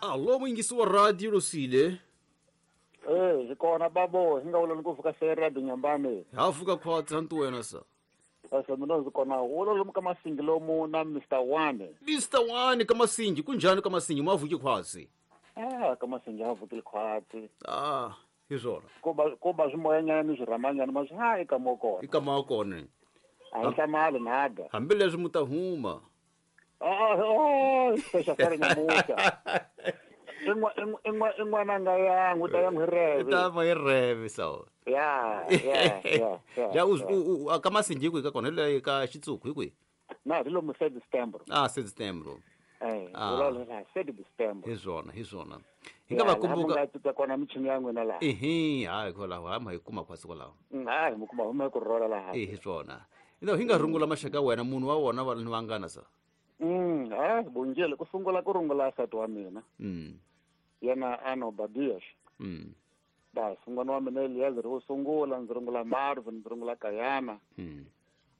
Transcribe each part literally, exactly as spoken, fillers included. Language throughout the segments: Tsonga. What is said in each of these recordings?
Allo muyingisi wa radio Losile. Eh, hi kona babo, hi nga vula ni ku vuka se radio Nyambane. Ha vuka khwatsi hantu wena sa. Asa mina ndzi kona wolo lomu ka Masingi lomu na Mister One. Mister One ka Masingi, kunjhani ka Masingi ma vuki khwatsi? Ah, ka Masingi ha vukile khwatsi. Ah, hi swona. Ko ba ko ba swimoyanyana ni swirhamanyana ma swi ha eka mo kona. Eka mo kona. A hi hlamali nada. Hambileswi mu ta huma. Ah, oh, special foreign namuhla. In'wa in'wa in'wana nga ya n'wi ta ya n'wi reve. Ta ma reve so. Ya, ya, ya. Ya u ka Masingi ku ka kona le ka Xitsuku hi kwihi? Na, hi lomu sete Setembro. Ah, sete Setembro. Eh, vulavula la sete Setembro. Hi swona, hi swona. Hi nga va kumbuka nga titwa kona michini ya n'wina laha. Ehe, hayi kwalaho, ha ma hi kuma khwatsi kwalaho. Hayi, mi kuma huma ku rhola laha. Eh, hi swona. Ino hi nga rungula maxaka wena munhu wa wona va ni vangana sa. Mm, hayi, bongile ku sungula ku rungula nsati wa mina. Mm. Yena ano Badias. Mm. Bas, n'wana wa mina Eliezer wo sungula, ndzi rungula Marvin, ndzi rungula Kayana. Mm.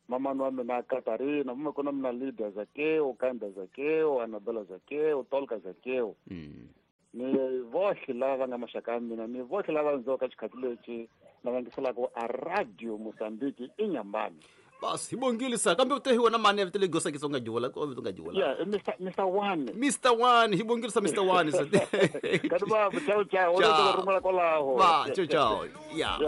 Mama wa mina Katarina, mama kona mina Lydia Zakeo, Kanda Zakeo, Annabella Zakeo, Tolka Zakeo. Mm. Ni vohle lava va nga maxaka ya mina, ni vohle lava ndzi ka xikhathi lexi na va ngiselaka a radio Mozambique i Nyambane. Bas, hi bongile sa kambe u te hi wena mani ya vito leyi gosa Xitsonga jiwula ko vito nga jiwula. Yeah, Mister Mister One. Mister One, hi bongile sa Mister One sa. Ka ba ciao ciao, o rungula kwalaho. Ba, ciao ciao. Yeah.